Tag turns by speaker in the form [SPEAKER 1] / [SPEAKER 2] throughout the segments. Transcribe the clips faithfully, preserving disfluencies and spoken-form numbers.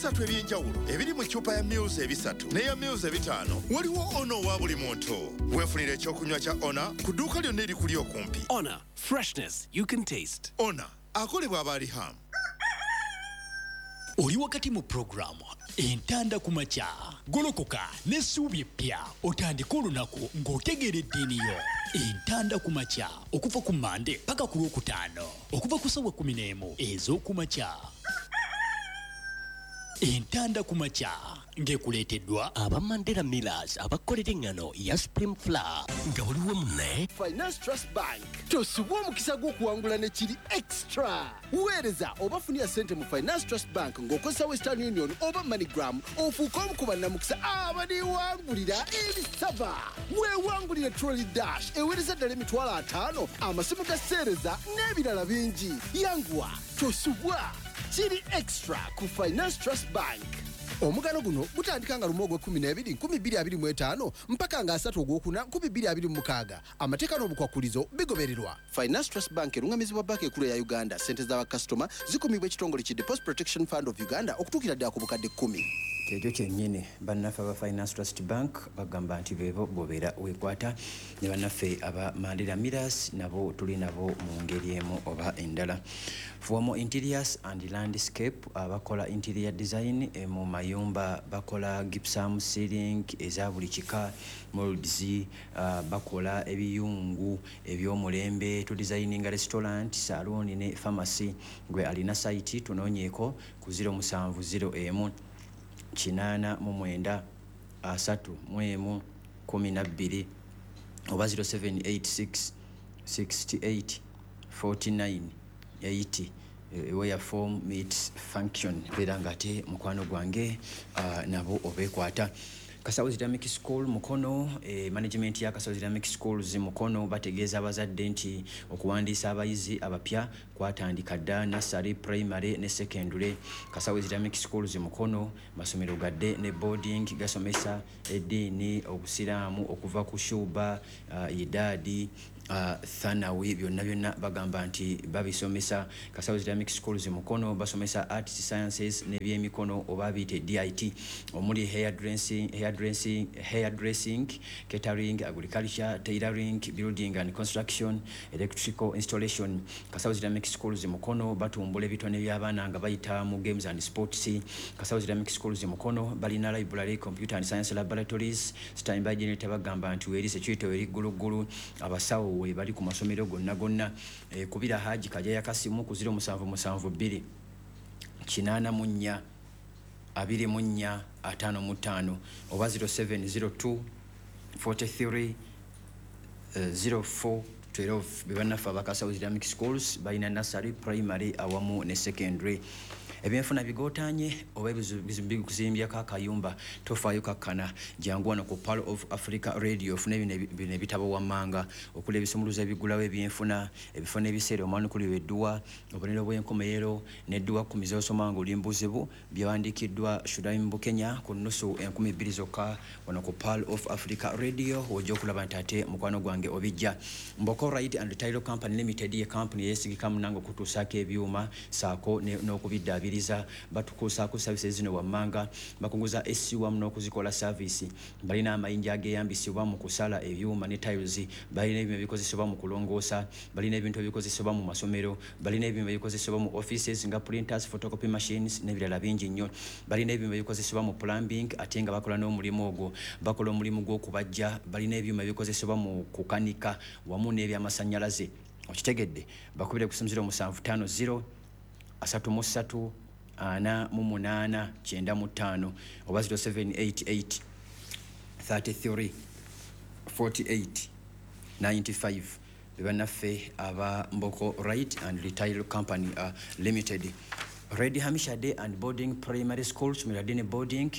[SPEAKER 1] Ebisatu eby'enjawulo ebiri mu ccupa ya mils ebisatu n'eya mils ebitaano, waliwo Ona owa buli muntu. Weefunira ekyokunywa kya Ona ku dduuka lyonna erikuli okumpi.
[SPEAKER 2] Honor, freshness you can taste.
[SPEAKER 1] Ona akolebwa abaalihamu.
[SPEAKER 3] Oli wakati mu puroguramu Entanda ku Makya. Golokoka n'essuubi eppya, otandike olunaku ng'otegeera eddiini yo. Entanda ku Makya, okuva ku Mande paka ku Lwokutaano, okuva ku ssaawa kkumi n'emu ez'okumakya. Entanda ku Makya ng'ekuleeteddwa
[SPEAKER 4] aba Mandela Millers, abakolera eŋŋano ya Supreme Flour nga buli wamu ne
[SPEAKER 5] Finance Trust Bank. Tosubwa omukisa gw'okuwangula ne kiri extra. Weereza oba funira ssente mu Finance Trust Bank ng'okozesa Western Union oba MoneyGram, ofuuke omu ku bannamukisa abaliwangulira ebisaba. Weewangulire trolley dash eweereza ddala emitwalo ataano, amasimu ga seereza n'ebirala bingi. Yanguwa, tosubwa, kiri extra ku Finance Trust Bank. Omugano guno gutandika nga lumu ogwekumi n'ebiri nkumi bbiri abiri mu etaano mpaka nga asatu ogwokuna nkumi bbiri abiri mu mukaaga. Amateeka n'obukwakulizo bigobererwa. Finance Trust Bank erungamizibwa Banka Ekulu eya Uganda. Sente z'abakasitoma zikumibwa ekitongole ki Deposit Protection Fund of Uganda okutuukira ddala ku bukadde kkumi.
[SPEAKER 6] Kyekyo kyennyini. Bannaffe aba Finance Trust Bank bagamba nti beebo bwobeera weekwata, ne bannaffe aba Mandela Millers nabo tuli nabo mu ngeri emu oba endala. Fuamo Interiors and Landscape, abakola interior design eh, mu mayumba, bakola gypsum ceiling eza buli kika, molds, uh, bakola ebiyungu ebyomulembe, tudesigninga restaurant, saloon ne pharmacy. Gwe alina site, tunoonyeeko ku zero musanvu zero emu kinaana mu mwenda asatu mu emu kumi na bbiri oba zero seven eight six sixty-eight forty-nine eighty, eh, where form meets function. Beera nga ate mukwano gwange, uh, nabo obeekwata. Kasawo Islamic School Mukono, eh, management ya Kasawo Islamic Schools Mukono bategeeza abazadde nti okuwandiisa abayizi abapya kwatandika dda, nursery, primary ne secondary. Kasawo Islamic Schools Mukono masomero gadde ne boarding, gasomesa eddiini obusiraamu okuva ku shuba, uh, idaadi, uh, thanawi, byonna byonna bagamba nti babisomesa. Kasawo Islamic Schools Mukono basomesa arts, sciences n'ebyemikono oba biyite D I T, omuli hair dressing, hair dressing, hair dressing, catering, agriculture, tailoring, building and construction, electrical installation. Kasawo Islamic Schools Mukono batumbula ebitone by'abaana nga bayita mu games and sports. Kasawo Islamic Schools Mukono balina library, computer and science laboratories. Standby generator bagamba nti weri, security weri gguluggulu, abasawo we bali ku masomero gonna gonna. e, kubira Haji Kajaya Kasimu ku zero musanvu musanvu bbiri kinaana mu nnya abiri mu nnya ataano mu ttaano oba zero seven zero two forty-three zero four twelve. Be bannaffe abakasawo Islamic Schools, balina nursery, primary awamu ne secondary. Ebyenfuna bigootanye oba bikuzimbyako akayumba, tofaayo, kakkana, jangu wano ku Pearl of Africa Radio ofune bino bino ebitabo wammanga okuli ebisumuluzo ebigulawo ebyenfuna, ebifo n'ebiseera omwanukulirwa edduwa, obubonero bw'enkomerero n'edduwa kkumi z'osoma ng'oli mu buzibu, byawandiikiddwa Shuraim Bukenya, ku nnusu enkumi bbiri zokka wano ku Pearl of Africa Radio w'ojja okulaba nti ate mukwano gwange obijja. Mboko Right and Tile Company Limited ye kampuni yeesigika munange okutuusaako ebyuma saako n'okubiddaabiriza. Batukuusaako services zino wammanga: bakunguza A C wamu n'okuzikola service, balina amayinja ageeyambisibwa mu kusala ebyuma ne tiles, balina ebyuma ebikozesebwa mu kulongoosa, balina ebintu ebikozesebwa mu masomero, balina ebyuma ebikozesebwa mu offices nga printers, photocopy machines n'ebirala bingi nnyo, balina ebyuma ebikozesebwa mu plumbing ate nga bakola n'omulimu ogwo, bakola omulimu gw'okubajja, balina ebyuma ebikozesebwa mu kukanika wamu n'ebyamasannyalaze. Okitegedde? Bakubire ku zero musanvu ttaano zero asatu mu ssatu ana mu munaana kyenda mu ttaano oba zero seven eight eight thirty-three forty-eight ninety-five. Be bannaffe aba Mboko Right and Retail Company uh, Limited. Red Hamisha Day and Boarding Primary School, ssomero lya boarding,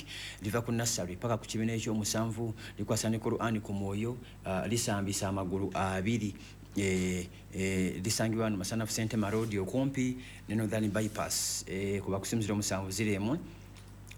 [SPEAKER 6] liva ku nursery paka ku kibiina ekyomusanvu, likwasa ne Qur'ani ku mwoyo, uh, lisambisa amagulu abiri. eh, eh, lisangibwa wano Masanafu Sentema Road okumpi ne Northern Bypass. eh, kuba ku simu zero musanvu zero emu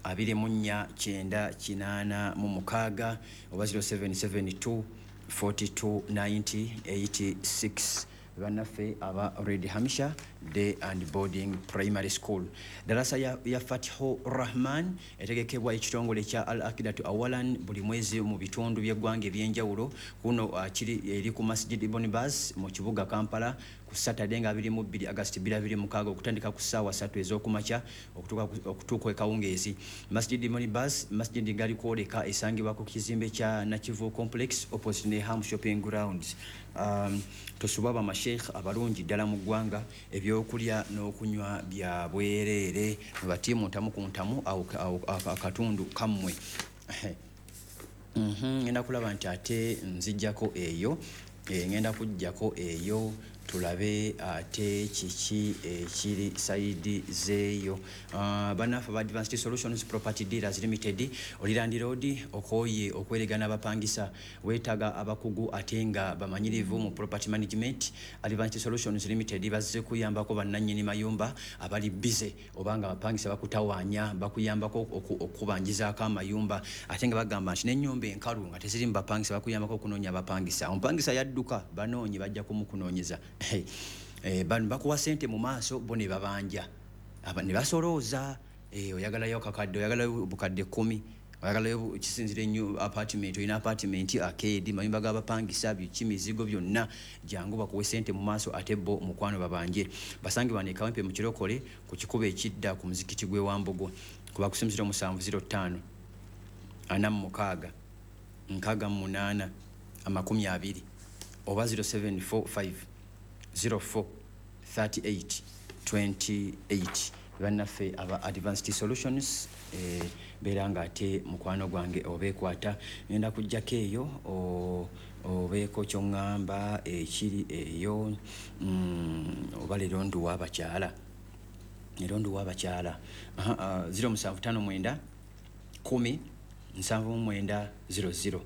[SPEAKER 6] abiri mu nnya kyenda kinaana mu mukaaga oba zero seven seven two forty-two ninety eighty-six. Bannaffe aba Red Hamisha Day and Boarding Primary School. Darasa ya, ya Fathu Rahman etegekebwa ekitongole kya Al Akidatu Awalan buli mwezi mu bitundu by'eggwanga ebyenjawulo. Kuno uh, kiri eri ku Masjid Ibn Baz mu kibuga Kampala ku Saturday nga abiri mu bbiri August bibiri abiri mu mukaaga okutandika ku ssaawa ssatu ez'okumakya okutuuka okutuuka ekawungeezi. Masjid Ibn Baz, Masjid Gali kwoleka esangibwa ku kizimbe kya Nakivu Complex opposite ne Ham Shopping Grounds. Um, tosubwa bamasheikh abalungi ddala mu ggwanga, ebyokulya n'okunywa bya bwereere, batiimu ntamu ku ntamu akatundu kammwe. Ngenda kulaba nti ate nzijjako eyo, ngenda kujjako eyo tulabe ate kiki ekiri sayidi zeeyo. Bannaffe ba Advanced Solutions Property Dealers Limited, oli landlord okooye okweregana abapangisa, weetaaga abakugu ate nga bamanyirivu mu property management. Advanced Solutions Limited bazze kuyambako bannannyini mayumba abali bize oba nga abapangisa bakutawaanya, bakuyambako okubanjizaako amayumba, ate nga bagamba nti n'ennyumba enkalu nga teziri mu bapangisa bakuyambako okunoonya abapangisa. Omupangisa yadduka, banoonye bajja kumukunoonyeza. Eh, bano bakuwa sente mu maaso bo ne babanja, ne basolooza. Eh, oyagalayo kakadde, oyagalayo bukadde kkumi, oyagalayo kisinzira ennyo apartment, olina apartment, arcade, mayumba g'abapangisa, biki mizigo byonna, jangu bakuwe sente mu maaso ate bo mukwano babanje. Basangibwa ne Kawempe mu Kirokole ku kikubo ekidda ku muzikiti gw'e Wambogo kuba ku ziro musanvu ziro ttaano ana mu mukaaga nkaaga mu munaana amakumi abiri oba ziro seven four five zero four thirty-eight twenty-eight. Bannaffe aba Advanced Solutions eh, beera nga ate mukwano gwange obeekwata. Ngenda kujjako eyo obeeko ky'oŋŋamba ekiri eyo, mm, oba leero nduwa abakyala, leero nduwa abakyala ziro musanvu ttaano mwenda kkumi nsanvu mu mwenda ziro ziro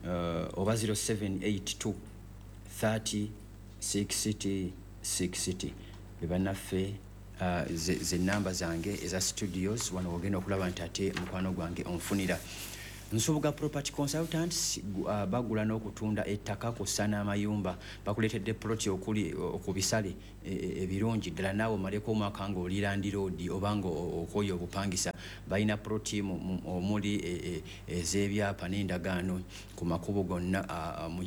[SPEAKER 6] uh, oba ziro seven eight two thirty sixty sixty. Bannaffe uh, ze namba zange eza studios wano wogenda okulaba nti ate mukwano gwange onfunira. Nsubuga Property Consultants uh, bagula n'okutunda ettaka kw'ossa n'amayumba, bakuleetedde ploti okuli ku bisale ebirungi ddala, naawe omaleko omwaka ng'oli landlord oba ng'okooye obupangisa. Balina ploti omuli ez'ebyapa n'endagaano ku makubo gonna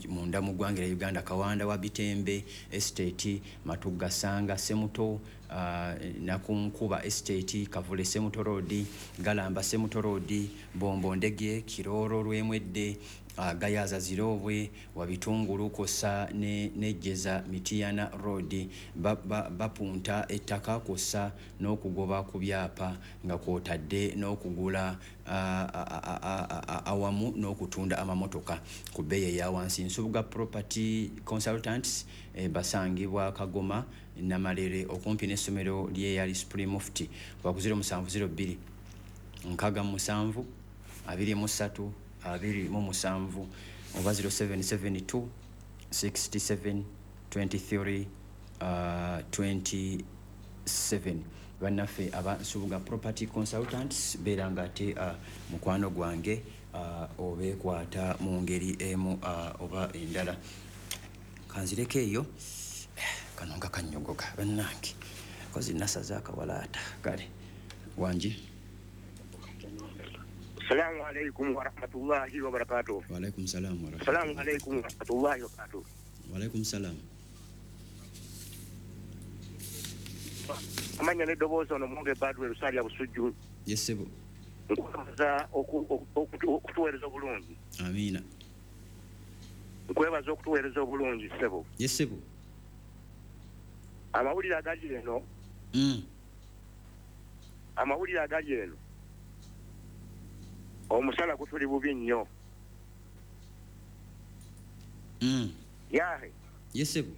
[SPEAKER 6] munda mu ggwanga erya Uganda: Kawanda wa Bitembe Estate, Matugga Sanga Semuto, Uh, Nakunkuba Estate, Kavule Semuto Road, Galamba Semuto Road, Bombo Ndege, Kiroro Lwemwedde, uh, Gayaza Zirobwe, Wabitungulu kw'ossa ne Nejjeza Mitiyana Road. Bapunta ba, ettaka kw'ossa n'okugoba ku byapa nga kw'otadde n'okugula uh, awamu n'okutunda amamotoka ku bbeeyi eya wansi. Nsubuga Property Consultants eh, basangibwa Kagoma Namalere okumpi n'essomero ly'eyali Supreme Mufti ku ziro musanvu ziro bbiri nkaaga mu musanvu abiri mu ssatu abiri mu musanvu oba ziro seven seven two sixty-seven twenty-three twenty-seven. Bannaffe aba Nsubuga Property Consultants beera nga ate uh, mukwano gwange uh, obeekwata mu ngeri emu uh, oba endala. Kanzireko eyo kano nga kannyogoga bannange, kozi nasaza akawalaata. Kale wangi.
[SPEAKER 7] Assalamu alaikum wa rahmatullahi wa barakatuh.
[SPEAKER 6] Wa alaikum salam wa rahmatullahi.
[SPEAKER 7] Assalamu alaikum wa rahmatullahi wa barakatuh.
[SPEAKER 6] Wa alaikum salam.
[SPEAKER 7] Amanya n'eddoboozi ono Mwonge Badwe Lusalya Busujju.
[SPEAKER 6] Yes sebo.
[SPEAKER 7] Nkwebaza okutuweereza obulungi.
[SPEAKER 6] Amiina.
[SPEAKER 7] Nkwebaza okutuweereza obulungi ssebo.
[SPEAKER 6] Yes sebo.
[SPEAKER 7] Amawulire agali eno.
[SPEAKER 6] Mm.
[SPEAKER 7] Amawulire agali eno. Omusala gutuli bubi nnyo.
[SPEAKER 6] Mm.
[SPEAKER 7] Yahe.
[SPEAKER 6] Yes sebo.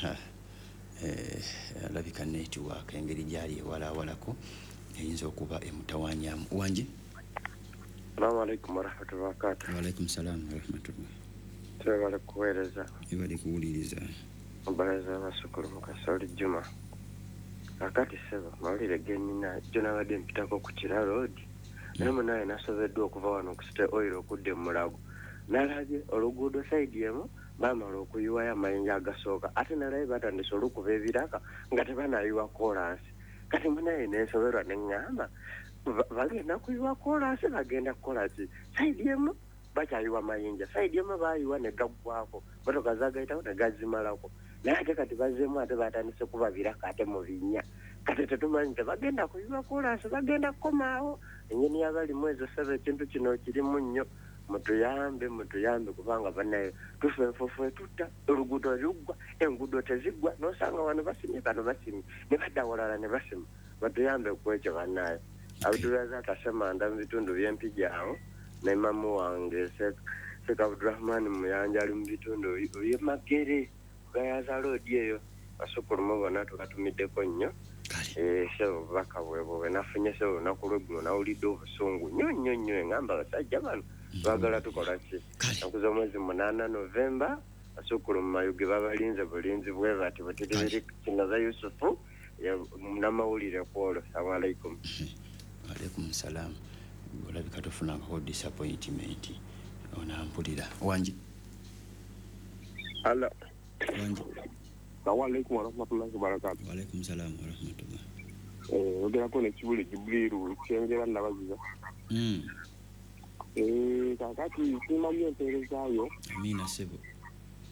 [SPEAKER 6] Ha. Eh, alabika network engeri gyali ewalawalako eyinza okuba emutawaanyamu. Wangi.
[SPEAKER 8] Assalamu alaikum warahmatullahi wabarakatuh.
[SPEAKER 6] Wa alaikum salam warahmatullahi.
[SPEAKER 8] Twebale kuweereza.
[SPEAKER 6] Ebale kuwuliriza.
[SPEAKER 8] Obalaza abasukulu Mukasa Juma. Akati ssebo mawulire ge nnina jjo nabadde mpitako ku Kira Road, naye munnaye nasobeddwa okuva wano ku City Oil okudda e Mulago. Nalabye oluguudo sayidi emu Bamala okuyiwayo amayinja agasooka ate nalaye batandise olukuba ebiraka nga tebanayiwa koolaasi. Kati munaye nensoberwa neŋŋamba bagenda kuyiwa koolaasi bagenda kukola ki? Sayidi emu bakyayiwa mayinja, sayidi emu baayiwa ne gaggwako, motoka zagayitawo ne gazimalako. Naye ate kati bazzeemu ate batandise kuba biraka ate mu binnya. Kati tetumanyi tebagenda kuyiwa koolaasi bagenda kukomaawo. Engeri y'abalimu ezo ssebo ekintu kino kirimu nnyo. Mutuyambe mutuyambe kubanga bannaye tufa enfuufu etutta, oluguudo luggwa, enguudo teziggwa, n'osanga wano basimye bano basimye ne badda walala ne basima. Batuyambe ku ekyo bannaye. Abdulrazak Asemanda mu bitundu by'Empigi awo ne mamu wange Sheikh Abdurahman Muyanja ali mu bitundu by'e Magere Gayaza Road eyo. Basukulumu bonna tubatumiddeko nnyo. Eh, ssebo obubaka bwebwo bwe nafunye ssebo olunaku lw'eggulo nawulidde obusungu nnyo nnyo nnyo. Engamba abasajja bano baagala tukola ki? Ennaku z'omwezi munaana Novemba basukulumu Mayuge babalinze bulinzi bwe bati bwe tuli biri Kinoza Yusufu munnamawulire ku olwo. Assalamu alaikum.
[SPEAKER 6] Alaikum salam. Olabika tofunangako disappointment onampulira. Wangi.
[SPEAKER 9] Hello.
[SPEAKER 6] Wangi.
[SPEAKER 9] Assalamu alaikum warahmatullahi wabarakatuh.
[SPEAKER 6] Wa alaikum salam warahmatullah.
[SPEAKER 9] Eh, ogerako ne Kibuli Jibrilu kyengera nabaziza.
[SPEAKER 6] Mm.
[SPEAKER 9] Eh, kakati simanyi empeerezaayo.
[SPEAKER 6] Amina ssebo.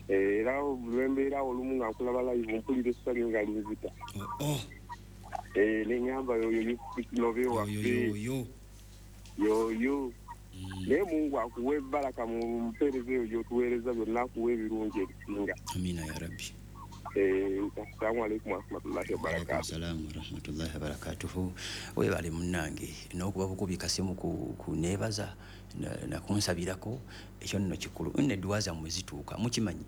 [SPEAKER 9] Era lwembeera olumu nga nkulaba live mpulira essanyu nga linzita.
[SPEAKER 6] Oh, oh.
[SPEAKER 9] Eh, neŋŋamba yoyo Yusufu Kinobe waffe.
[SPEAKER 6] Yoyo.
[SPEAKER 9] Yoyo. Naye Mungu akuwe baraka mu mpeereza eyo gy'otuweereza byonna akuwe ebirungi ebisinga.
[SPEAKER 6] Amina ya Rabbi.
[SPEAKER 9] Eh, assalamu alaikum warahmatullahi wabarakatuh.
[SPEAKER 6] Assalamu warahmatullahi wabarakatuh. Webale munnange n'okuba bukubi kasimu ku kuneebaza nakunsabirako ekyo nno kikulu. Nno edduwa zammwe zituuka mukimanyi.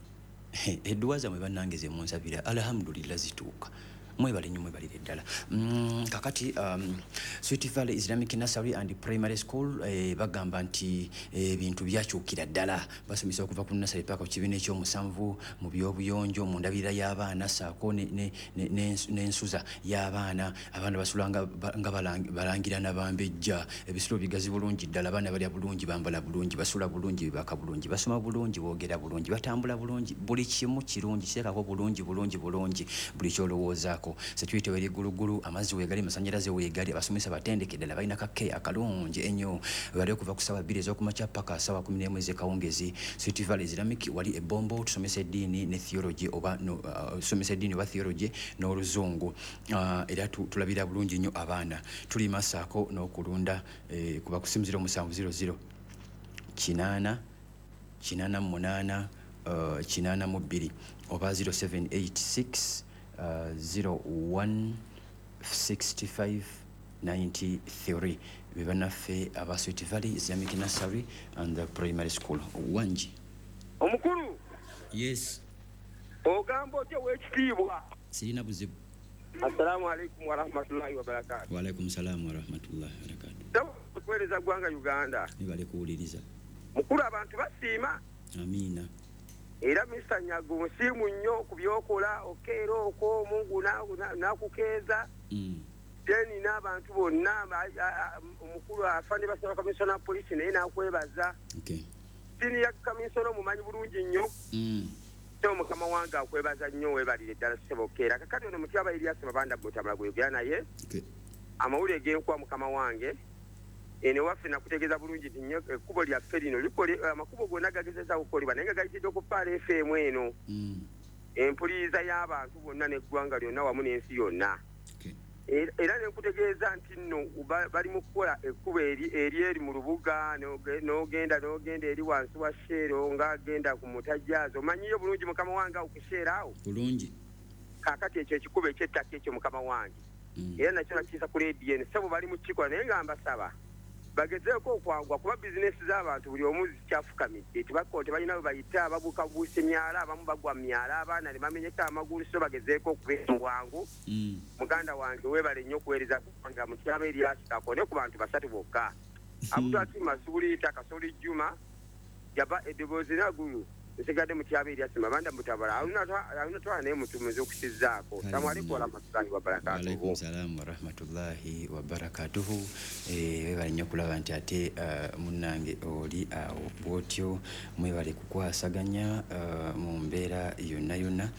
[SPEAKER 6] Edduwa zammwe bannange ze munsabira alhamdulillah zituuka. Mwebale nnyo mwebalire ddala. Mm, kakati um, Sweet Valley Islamic Nursery and Primary School eh, bagamba nti ebintu eh, byakyukira ddala. Basomesa okuva ku nursery paka ku kibiina ekyomusanvu mu byobuyonjo, mu ndabirira y'abaana ssaako n'ensuza y'abaana. Abaana basula nga, nga balangira nabambejja. Ebisulo bigazi bulungi ddala, abaana balya bulungi, bambala bulungi, basula bulungi, bebaka bulungi, basoma bulungi, boogera bulungi, batambula bulungi, buli kimu kirungi, kiteekako bulungi bulungi bulungi buli ky'olowoozaako. Security weri gulugulu, amazzi weegali, amasannyalaze weegali, abasomesa batendeke ddala, balina kake akalungi ennyo. Bali okuva ku ssaawa bbiri ez'okumakya paka ssaawa kumi n'emu ez'ekawungezi. Sweet Valley Islamic wali e Bombo, tusomesa eddiini ne theology oba no, uh, tusomesa eddiini oba theology n'oluzungu. Uh, era tulabira bulungi nnyo abaana. Tulima ssaako n'okulunda eh, kuba ku simu ziro musanvu ziro ziro kinaana kinaana munaana uh, kinaana mu bbiri oba ziro seven eight six Uh, zero one sixty-five ninety-three. Bebannaffe aba Sweet Valley Islamic Nursery and the Primary School. Wangi.
[SPEAKER 10] Omukulu.
[SPEAKER 6] Yes.
[SPEAKER 10] Ogamba otya w'ekitiibwa?
[SPEAKER 6] Sirina buzibu.
[SPEAKER 10] Assalamu alaikum warahmatullahi wabarakatuh.
[SPEAKER 6] Wa alaikum salaam warahmatullahi wabarakatuh.
[SPEAKER 10] Okuweereza ggwanga Uganda.
[SPEAKER 6] Nibale kuwuliriza.
[SPEAKER 10] Mukulu abantu basiima.
[SPEAKER 6] Amiina.
[SPEAKER 10] Era Mister Nyago nsiimu nnyo ku by'okola okeera okwo Mungu n'akukeeza. Then n'abantu bonna omukulu afa ne basaba Commissioner Police naye n'akwebaza. Senior Commissioner omumanyi bulungi nnyo. So mukama wange akwebaza nnyo weebalire ddala ssebo okeera. Kakati ono Mutyaba Erias Mabanda Mutabala gweyogera naye. Amawulire g'enkuba mukama wange. Eno waffe nakutegeeza bulungi nti nnyo ekkubo lyaffe lino likole amakubo gonna gagezezza okukolebwa naye nga gayitidde ku Pearl F M eno. Empuliriza y'abantu bonna n'eggwanga lyonna wamu n'ensi yonna. Era ne nkutegeeza nti nno bali mu kukola ekkubo eri eri mu lubuga n'ogenda n'ogenda eri wansi wa Shell ng'agenda ku Mutajjaazi. Omanyiyo bulungi mukama wange awo ku Shell awo?
[SPEAKER 6] Bulungi.
[SPEAKER 10] Kaakati ekyo ekikubo eky'ettaka ekyo mukama wange. Era nakyo nakiyisa ku leediyo eno. Ssebo bali mu kukikola naye nga mbasaba bagezeeko okwangwa kuba bizinesi z'abantu buli omu zikyafukamidde. Tebako tebalina we bayita, babuuka buusa emyala, abamu bagwa mu myala, abaana ne bamenyeka amagulu, so bagezeeko okubeera mu bwangu. Muganda wange weebale nnyo okuweereza ggwanga Mutyaba Erias Kakone ku bantu basatu bokka. Abdulhakim Masuulita, Kasoli Juma, Jaba eddoboozi Nagulu, Nsigadde mu kyaba erya Simabanda Mutabala. Aluna twala naye mutumiza okukizaako. Assalamu alaikum warahmatullahi wabarakatuhu.
[SPEAKER 6] Alaikum salaam warahmatullahi wabarakatuhu. Eh, webale nnyo okulaba nti ate uh, munnange oli awo bwotyo, mwebale kukwasaganya uh, mu mbeera yonna yonna.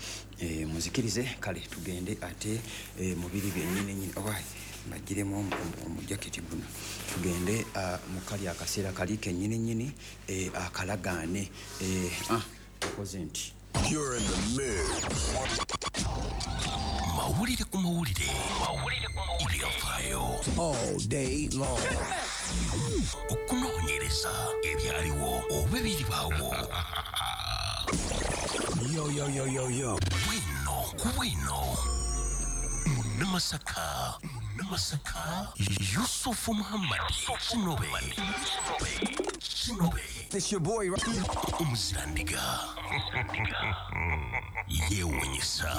[SPEAKER 6] Eh, muzikirize kale tugende ate eh, mubiri byennyini nnyini. Owai mbagiremu omujaketi guno tugende uh, mu kali akaseera kali kennyini nnyini eh, akalagaane eh, ah, tukoze nti
[SPEAKER 11] You're in the mix.
[SPEAKER 4] Mawulire ku mawulire. Mawulire ku mawulire. Ebyafaayo.
[SPEAKER 11] All day long.
[SPEAKER 4] Okunoonyereza ebyaliwo oba ebiribaawo.
[SPEAKER 11] Yo, yo, yo, yo, yo.
[SPEAKER 4] Bwino ku bwino. Munnamasaka. Munnamasaka. Yusufu Muhammad. Kinobe. Kinobe.
[SPEAKER 11] It's your boy.
[SPEAKER 4] Omuzirandiga. Yeewuunyisa.